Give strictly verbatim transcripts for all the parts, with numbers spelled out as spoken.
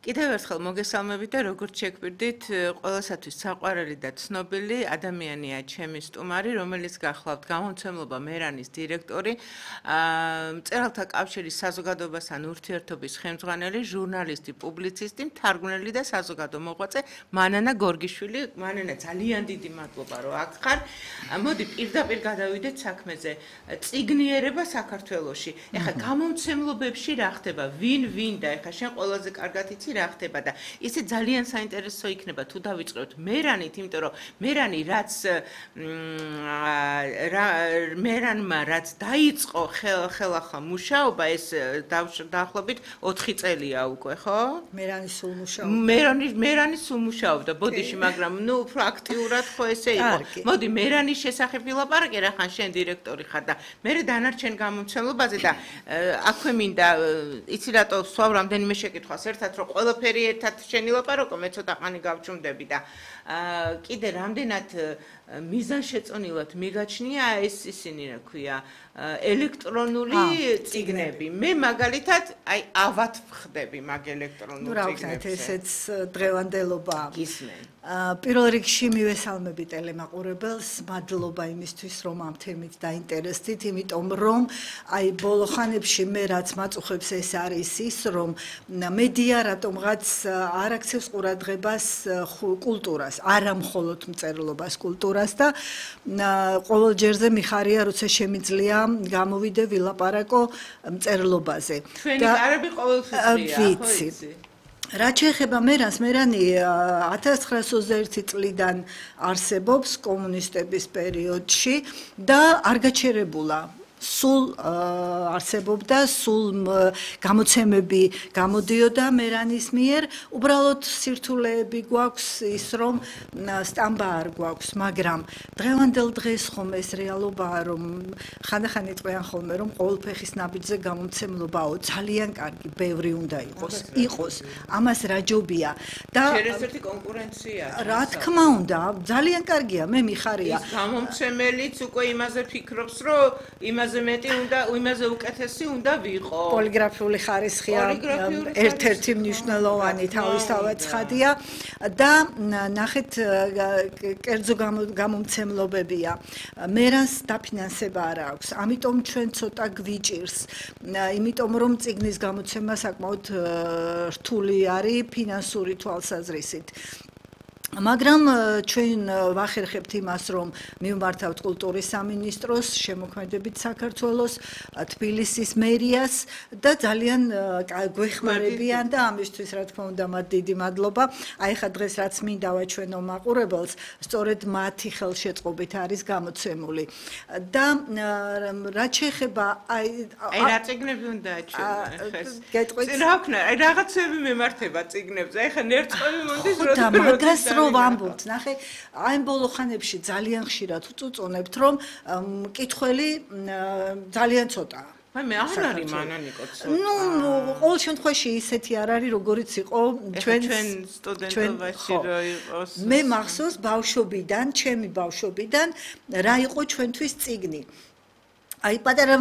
კიდევ ერთხელ მოგესალმებით და როგორც შეგბირდით, ყველასათვის საყვარელი და ცნობილი ადამიანია ჩემი სტუმარი, რომელიც გახლავთ გამომცემლობა მერანის დირექტორი, მწერალთა კავშირის საზოგადოებასთან ურთიერთობის ხელმძღვანელი, ჟურნალისტი, პუბლიცისტი, მთარგმნელი და საზოგადო მოღვაწე მანანა გორგიშვილი. მანანა, ძალიან დიდი მადლობა, რომ აქ ხარ. მოდი პირდაპირ გადავიდეთ საქმეზე. წიგნიერება საქართველოში. ეხლა გამომცემლობებში რა ხდება? ვინ ვინ და ეხლა შენ ყველაზე კარგად იცი რა ხდება და ისე ძალიან საინტერესო იქნება თუ დავიწყებთ მერანით, იმიტომ რომ მერანი რაც მერანმა რაც დაიწყო ხელახლა მუშაობა ეს დაახლოებით ოთხი წელია უკვე, ხო? მერანი სულ მუშაობდა. მერანი მერანი სულ მუშაობდა ბოდიში, მაგრამ ნუ უფრო აქტიურად ხო ესე იყო. მოდი მერანის შესახებ ვილაპარაკე, რახან შენ დირექტორი ხარ და მე დანარჩენ გამომცემლობაზე და აქვე მინდა იცი რატო სვავ რამდენიმე შეკითხვას ერთად რომ ყველაფერი ერთად შენილაპარაკო, მე ცოტა ხანი გავჩუმდები და კიდე რამდენად მიზანშეწონილად მიგაჩნია ეს ისინი რა ქვია ელექტრონული წიგნები. მე მაგალითად აი ავად ვხდები მაგ ელექტრონულ წიგნებზე. ნუ რა ვქნათ, ესეც დღევანდელობაა. გისმენ. პირველ რიგში მივესალმები ტელემაყურებელს, მადლობა იმისთვის, რომ ამ თემით დაინტერესდით, იმიტომ რომ აი ბოლო ხანებში მე რაც მაწუხებს ეს არის ის, რომ მედია რატომღაც არ აქცევს ყურადღებას კულტურას, არა მხოლოდ მწერლობას, კულტურას და ყოველ ჯერზე მიხარია, როცა შემიძლია გამოვიდე ვილაპარაკო მწერლობაზე. ჩვენი კარები ყოველთვის ვიცი. რაც შეეხება მერანს, მერანი ათას ცხრაასოცდაერთი წლიდან არსებობს კომუნისტების პერიოდში და არ გაჩერებულა. სულ არსებობდა, სულ გამოცემები გამოდიოდა მერანის მიერ, უბრალოდ სირთულეები გვაქვს ის, რომ სტამბა არ გვაქვს, მაგრამ დღევანდელ დღეს ხომ ეს რეალობაა, რომ ხანდახან იტყვიან ხოლმე, რომ ყოველფეხის ნაბიჯზე გამომცემლობაო, ძალიან კარგი, ბევრი უნდა იყოს, იყოს, ამას რა ჯობია და ერთ-ერთი კონკურენცია. რა თქმა უნდა, ძალიან კარგია, მე მიხარია. ის გამომცემელიც უკვე იმაზე ფიქრობს, რომ იმაზე მეტი უნდა, იმაზე უკეთესი უნდა ვიყო. პოლიგრაფიული ხარისხია ერთ-ერთი მნიშვნელოვანი თავისთავად ცხადია და ნახეთ კერძო გამომცემლობებია. მერანს დაფინანსება არ აქვს. ამიტომ ჩვენ ცოტა გვიჭირს. იმიტომ რომ წიგნის გამოცემა საკმაოდ რთული არის ფინანსური თვალსაზრისით. მაგრამ ჩვენ ვახერხებთ იმას, რომ მივმართავთ კულტურის სამინისტროს, შემოქმედებით საქართველოს, თბილისის მერიას და ძალიან გვეხმარებიან და ამისთვის რა თქმა უნდა მათ დიდი მადლობა. აი ხა დღეს რაც მინდა ვაჩვენო მაყურებელს, სწორედ მათი ხელშეწყობით არის გამოცემული. და რაც შეეხება აი აი რა წიგნები უნდა აჩვენო? გეტყვით? რა ვქნა, აი რაღაცები მემართება წიგნებზე. აი ხა ნერწყვები მონდის როდის ვამბობთ, ნახე, აი ბოლო ხანებში ძალიან ხშირად ვწუწუნებთ, რომ მკითხველი ძალიან ცოტაა. აი მე არ არის მანანიკო ცოტა. ნუ ყოველ შემთხვევაში ისეთი არ არის, როგორიც იყო ჩვენ ჩვენ სტუდენტობაში რო იყოს. მე მახსოვს ბავშვობიდან, ჩემი ბავშვობიდან რა იყო ჩვენთვის წიგნი. აი პატარა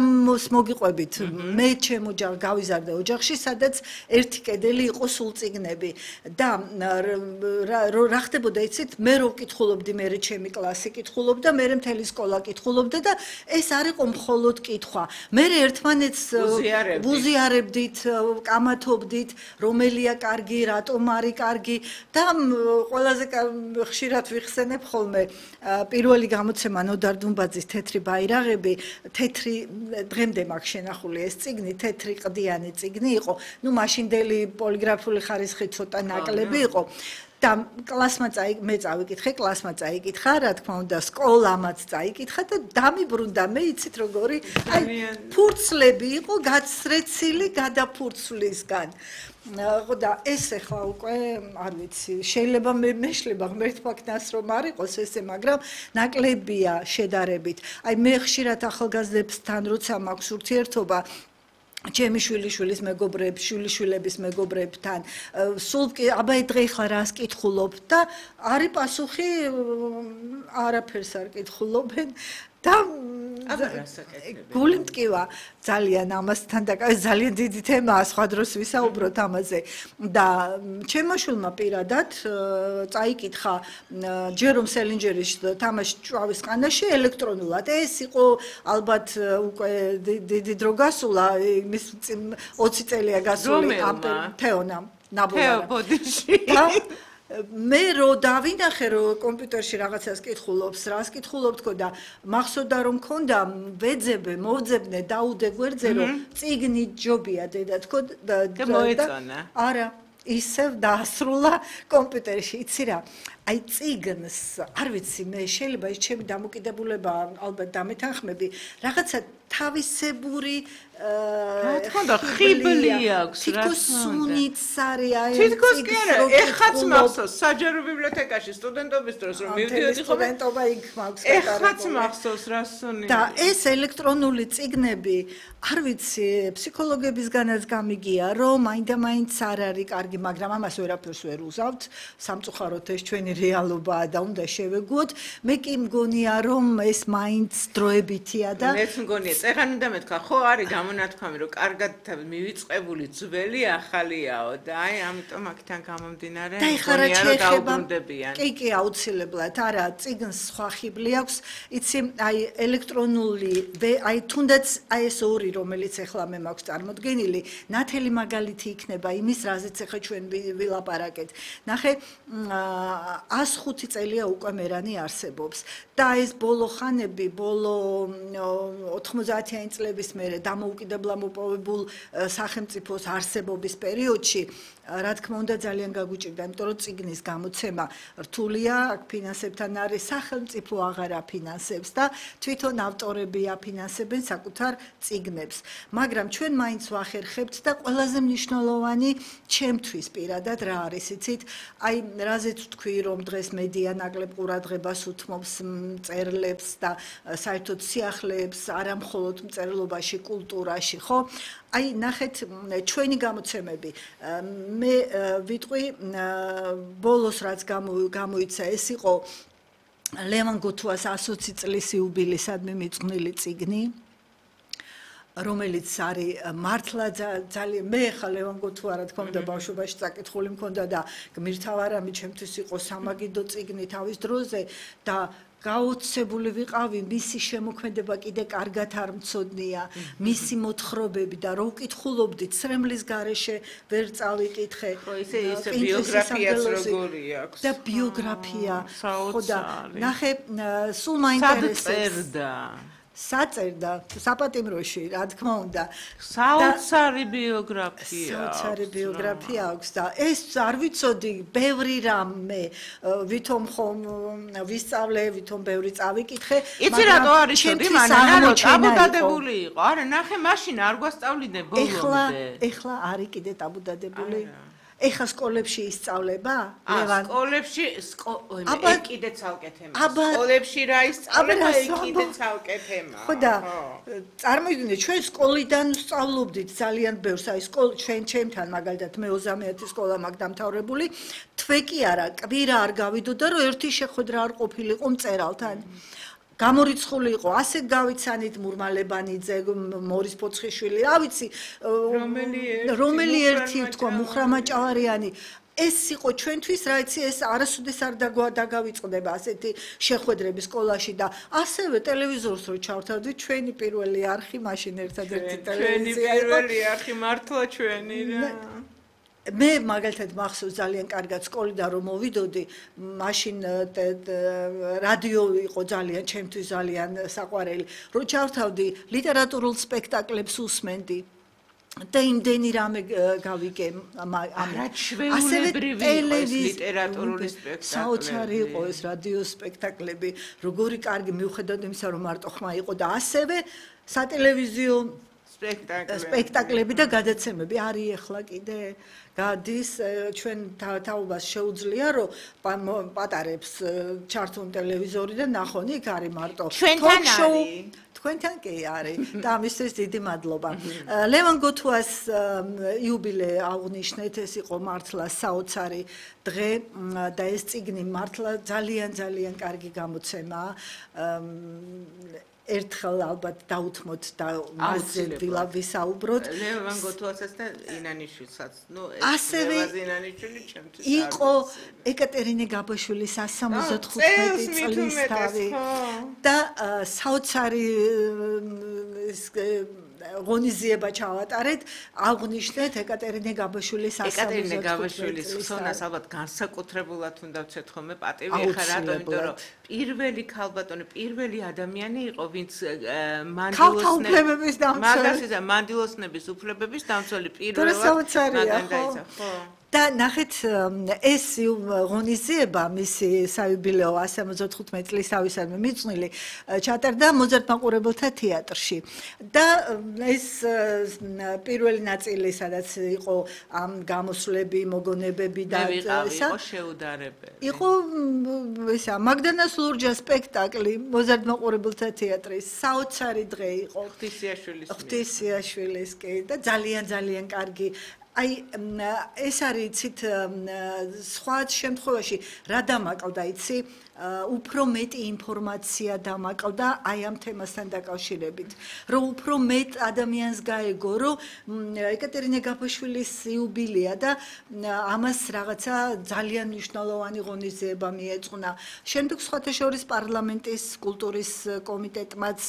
მოგიყვებით, მე ჩემო გავიზარდე ოჯახში, სადაც ერთი კედელი იყო სულ წიგნები და რა ხდებოდა იცით, მე რო ვკითხულობდი, მე ჩემი კლასი კითხულობდა, მე მთელი სკოლა კითხულობდა და ეს არ იყო მხოლოდ კითხვა. მე ერთმანეთს ვუზიარებდით, კამათობდით, რომელია კარგი, რატომ არის კარგი და ყველაზე ხშირად ვიხსენებ ხოლმე პირველი გამოცემა ნოდარ დუმბაძის თეთრი ბაირაღები, თეთრი დღემდე მაქვს შენახული ეს წიგნი, თეთრი ყდიანი წიგნი იყო. ნუ მაშინდელი პოლიგრაფიული ხარისხი ცოტა ნაკლები იყო. და კლასმა წაი მე წავიკითხე, კლასმა წაიკითხა, რა თქმა უნდა, სკოლამაც წაიკითხა და დამიბრუნდა მე იცით როგორი, აი ფურცლები იყო გაცრეცილი გადაფურცვლისგან. და ეს ახლა უკვე არ ვიცი, შეიძლება მე მეშლება ღმერთმაგნას რომ არ იყოს ესე, მაგრამ ნაკლებია შედარებით. აი მე ხშირად ახალგაზრდებთან როცა მაქვს ურთიერთობა ჩემი შვილიშვილის მეგობრებს, შვილიშვილების მეგობრებთან, სულ აბა დღე ხა რას კითხულობ და არის პასუხი არაფერს არ კითხულობენ და აბა რასაკეთებია? გული მტკივა ძალიან ამასთან დაკავე ძალიან დიდი თემაა, სხვა დროს ვისაუბროთ ამაზე. და ჩემმა შვილმა პირადად წაიკითხა ჯერომ სელინჯერის თამაში ჭვავის ყანაში ელექტრონულად. ეს იყო ალბათ უკვე დიდი დრო გასულა, იმის ოცი წელია გასული ამ თეონამ ნაბოლარა. ბოდიში. მე რო დავინახე რომ კომპიუტერში რაღაცას კითხულობს, რას კითხულობ თქო და მახსოვდა რომ მქონდა ვეძებე, მოვძებნე, დაუდე გვერდზე რომ წიგნი ჯობია დედა თქო და მოეწონა. არა, ისევ დაასრულა კომპიუტერში, იცი რა. აი წიგნს, არ ვიცი, მე შეიძლება ის ჩემი დამოკიდებულება ალბათ დამეთანხმები, რაღაცა თავისებური რა თქმა უნდა ხიბლი აქვს რა თითქოს სუნიც არის აი თითქოს კი არა ეხაც მახსოვს საჯარო ბიბლიოთეკაში სტუდენტობის დროს რომ მივდიოდი ხოლმე სტუდენტობა იქ მაქვს ეხაც მახსოვს რა სუნი და ეს ელექტრონული წიგნები არ ვიცი ფსიქოლოგებისგანაც გამიგია რომ მაინდა-მაინც არ არის კარგი მაგრამ ამას ვერაფერს ვერ უზავთ სამწუხაროდ ეს ჩვენი რეალობაა და უნდა შევეგუოთ მე კი მგონია რომ ეს მაინც დროებითია და მეც მგონია წერან უნდა მეთქვა ხო არის გამონათქვამი რომ კარგად მივიწყებული ძველი ახალიაო და აი ამიტომ აქთან გამომდინარე მგონია რომ დაუბრუნდებიან კი კი აუცილებლად არა წიგნს სხვა ხიბლი აქვს იცი აი ელექტრონული აი თუნდაც აი ეს ორი რომელიც ახლა მე მაქვს წარმოდგენილი ნათელი მაგალითი იქნება იმის რაზეც ახლა ჩვენ ვილაპარაკეთ ნახე ას ხუთი წელია უკვე მერანი არსებობს და ეს ბოლო ხანები ბოლო ოთხმოცდაათიანი წლების მერე დამოუკიდებლად მოპოვებულ სახელმწიფოს არსებობის პერიოდში რა თქმა უნდა ძალიან გაგუჭირდა იმიტომ რომ წიგნის გამოცემა რთულია აქ ფინანსებთან არის სახელმწიფო აღარ აფინანსებს და თვითონ ავტორები აფინანსებენ საკუთარ წიგნებს მაგრამ ჩვენ მაინც ვახერხებთ და ყველაზე მნიშვნელოვანი ჩემთვის პირადად რა არის იცით აი რაზეც ვთქვი რომ დღეს მედია ნაკლებ ყურადღებას უთმობს მწერლებს და საერთოდ სიახლეებს არა მხოლოდ მწერლობაში კულტურაში ხო აი ნახეთ ჩვენი გამოცემები მე ვიტყვი ბოლოს რაც გამოიცა ეს იყო ლევან გოთუას ასოცი წლის იუბილეისადმი მიწყვნილი წიგნი რომელიც არის მართლა ძალიან მე ხა ლევან გოთუა რა თქმა უნდა ბავშვობაში წაკითხული მქონდა და გმირთავარამი ჩემთვის იყო სამაგიდო წიგნი თავის დროზე და გაოცებული ვიყავი მისი შემოქმედება კიდე კარგად არ მცოდნია მისი მოთხრობები და რო ვკითხულობდით სრემლის გარეშე ვერ წავიკითხე ხო ისე ისე ბიოგრაფიაც როგორი აქვს და ბიოგრაფია ხო და ნახე სულ მაინტერესებს საწერდა საპატიმროში რა თქმა უნდა საოცარი ბიოგრაფია საოცარი ბიოგრაფია აქვს და ეს არ ვიცოდი ბევრი რამე ვითომ ხომ ვისწავლე ვითომ ბევრი წავიკითხე იცი რატო არის შოდი მანანა რომ ტაბუდადებული იყო არა ნახე მაშინ არ გვასწავლინე ბოლომდე ეხლა ეხლა არის კიდე ტაბუდადებული ეხა სკოლებში ისწავლება ლევან სკოლებში oi კიდე ცალკე თემაა სკოლებში რა ისწავლება oi კიდე ცალკე თემაა ხო და წარმოიდგინე ჩვენ სკოლიდან ვსწავლობდით ძალიან ბევრს აი სკოლ ჩვენ ჩემთან მაგალითად მე ოცდამეათი სკოლა მაგ დამთავრებული თვე კი არა კვირა არ გავიდოდა რომ ერთი შეხვედრა არ ყოფილიყო მწერალთან გამორიცხული იყო ასე გავიცანით მურმალებანიძე მორის პოცხიშვილი რა ვიცი რომელი ერთი თქვა მუხრამაჭავარიანი ეს იყო ჩვენთვის რა იცი ეს არასოდეს არ დაგავიწყდება ასეთი შეხვედრები სკოლაში და ასევე ტელევიზორს რო ჩავთავდით ჩვენი პირველი არხი მაშინ ერთადერთი ტელევიზია ჩვენი პირველი არხი მართლა ჩვენი რა მე მაგალითად მახსოვს ძალიან კარგად სკოლიდან რომ მოვიდოდი მაშინ რადიო იყო ძალიან ჩემთვის ძალიან საყვარელი რომ ჩავთავდი ლიტერატურულ სპექტაკლებს უსმენდი და იმდენი რამე გავიგე არა ჩვეულებრივი ეს ლიტერატურული სპექტაკლები საოცარი იყო ეს რადიო სპექტაკლები როგორი კარგი მიუხედავად იმისა რომ მარტო ხმა იყო და ასევე სატელევიზიო სპექტაკლები და გადაცემები არის ახლა კიდე გადის ჩვენ თაობას შეუძლია რომ პატარებს ჩართონ ტელევიზორი და ნახონ იქ არის მარტო ჩვენთან არის თქვენთან კი არის და ამისთვის დიდი მადლობა ლევან გოთუას იუბილე აღნიშნეთ ეს იყო მართლა საოცარი დღე და ეს წიგნი მართლა ძალიან ძალიან კარგი გამოცემაა ერთხელ ალბათ დაუთმოთ და მასზე ვისაუბროთ. ლევან გოთუასაც და ინანიშვილსაც. ნუ ასევე ინანიშვილი ჩემთვის იყო ეკატერინე გაბაშვილის one seventy-five წლის თავი და საოცარი ღონისძიება ჩავატარეთ, აღვნიშნეთ ეკატერინე გაბაშვილის one seventy-five ეკატერინე გაბაშვილის ხსოვნას ალბათ განსაკუთრებულად უნდა ვცეთ ხოლმე პატივი ეხა რატომ, იმიტომ რომ პირველი ქალბატონი, პირველი ადამიანი იყო, ვინც მანდილოსნების მაგასი და მანდილოსნების უფლებების დამცველი პირველად მაგან დაიცა, ხო? და ნახეთ ეს ღონისძიება მისი საიუბილეო one seventy-five წლის თავისადმი მიძღვნილი ჩატარდა მოზარდ მაყურებელთა თეატრში და ეს პირველი ნაწილი სადაც იყო ამ გამოსვლები, მოგონებები და ისა იყო შეუდარებელი. იყო ისა მაგდანას ლურჯა სპექტაკლი მოზარდ მაყურებელთა თეატრის საოცარი დღე იყო ღვთისიაშვილის ღვთისიაშვილის კი და ძალიან ძალიან კარგი აი ეს არის იცით სხვა შემთხვევაში რა დამაკავდა იცი უფრო მეტი ინფორმაცია დამაკავდა აი ამ თემასთან დაკავშირებით რომ უფრო მეტ ადამიანს გაეგო რომ ეკატერინე გაბაშვილის იუბილეა და ამას რაღაცა ძალიან მნიშვნელოვანი ღონისძიება მიეძღვნა შემდეგ სხვათა შორის პარლამენტის კულტურის კომიტეტმაც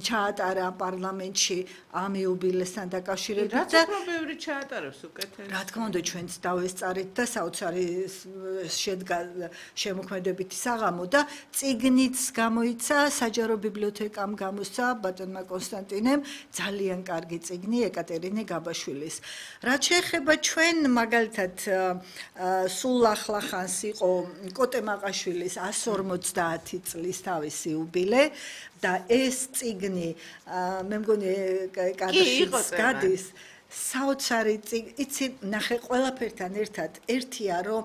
ჩაატარა პარლამენტში ამ იუბილესთან დაკავშირებით და რა ბევრი ჩაატარებს უკეთეს რა თქმა უნდა ჩვენც დავესწარით და საოცარი შედგა შემოქმედებითი საღამო და წიგნიც გამოიცა საჯარო ბიბლიოთეკამ გამოსცა ბატონმა კონსტანტინემ ძალიან კარგი წიგნი ეკატერინე გაბაშვილის რაც შეეხება ჩვენ მაგალითად სულ ახლახანს იყო კოტე მაყაშვილის one forty წლის თავისი იუბილე და ეს წიგნი მე მგონი კადრშიც გადის საოცარი იცი ნახე ყველაფერთან ერთად ერთია რომ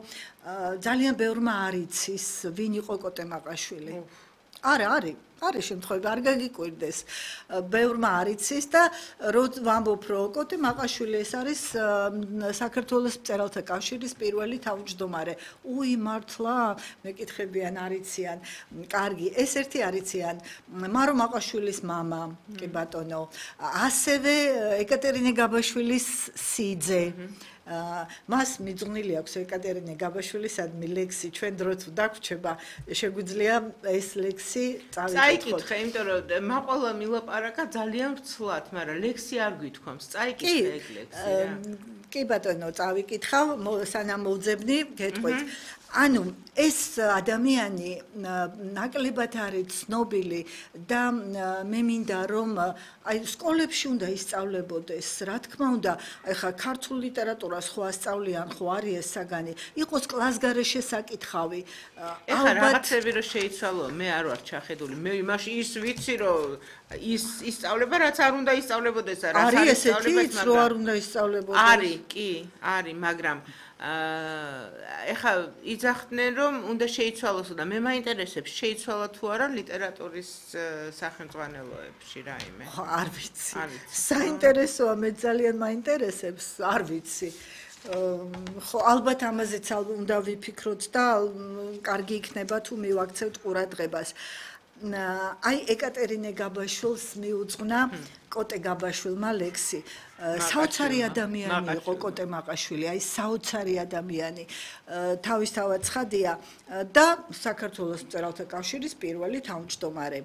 ძალიან ბევრმა არ იცის ვინ იყო კოტე მაყაშვილი არა არის არის შემთხვევები არ გაგიკვირდეს ბევრმა არ იცის და რო ვამბობ რომ კოტე მაყაშვილი ეს არის საქართველოს მწერალთა კავშირის პირველი თავმჯდომარე უი მართლა მეკითხებიან არ იციან კარგი ეს ერთი არ იციან მარო მაყაშვილის მამა კი ბატონო ასევე ეკატერინე გაბაშვილის სიძე მას მიძღვნილი აქვს ეკატერინე გაბაშვილისადმი ლექსი ჩვენ დროც დაგვრჩება შეგვიძლია ეს ლექსი წაიკითხე იმიტომ რომ მაყოლა მილაპარაკა ძალიან ვრცლად მაგრამ ლექსი არ გვითქვამს წაიკითხე ეგ ლექსი რა კი ბატონო წავიკითხავ სანამ მოვძებნი გეტყვით ანუ ეს ადამიანი ნაკლებად არის ცნობილი და მე მინდა რომ აი სკოლებში უნდა ისწავლებოდეს რა თქმა უნდა ეხა ქართულ ლიტერატურას ხო ასწავლიან ხო არის ეს საგანი იყოს კლასგარეშე საკითხავი ეხა რაღაცები რომ შეიცვალო მე არ ვარ ჩახედული მე იმაში ის ვიცი რომ ის ისწავლება რაც არ უნდა ისწავლებოდეს რა არის ესეთი რომ არ უნდა ისწავლებოდეს არის კი არის მაგრამ ეხა იძახდნენ რომ უნდა შეიცვალოს და მე მაინტერესებს შეიცვალა თუ არა ლიტერატურის სახელმძღვანელოებში რაიმე ხო არ ვიცი საინტერესოა მე ძალიან მაინტერესებს არ ვიცი ხო ალბათ ამაზეც უნდა ვიფიქროთ და კარგი იქნება თუ მივაქცევთ ყურადღებას აი ეკატერინე გაბაშვილს მიუძღვნა კოტე გაბაშვილმა ლექსი საოცარი ადამიანი იყო კოტე მაყაშვილი აი საოცარი ადამიანი თავისთავად ცხადია და საქართველოს მწერალთა კავშირის პირველი თავმჯდომარე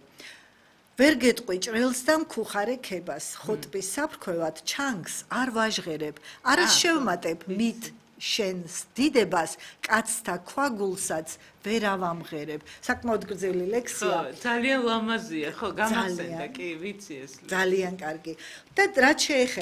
ვერ გეტყვი ჭრელს და მქუხარე ქებას ხოტბის საფრქვევად ჩანგს არ ვაჟღერებ არის შევმატებ მით შენს დიდებას კაცთა ქვაგულსაც ვერ ავამღერებ საკმაოდ გრძელი ლექსია ძალიან ლამაზია ხო გამასენდა კი ვიცი ეს ძალიან კარგი და რაც შეეხება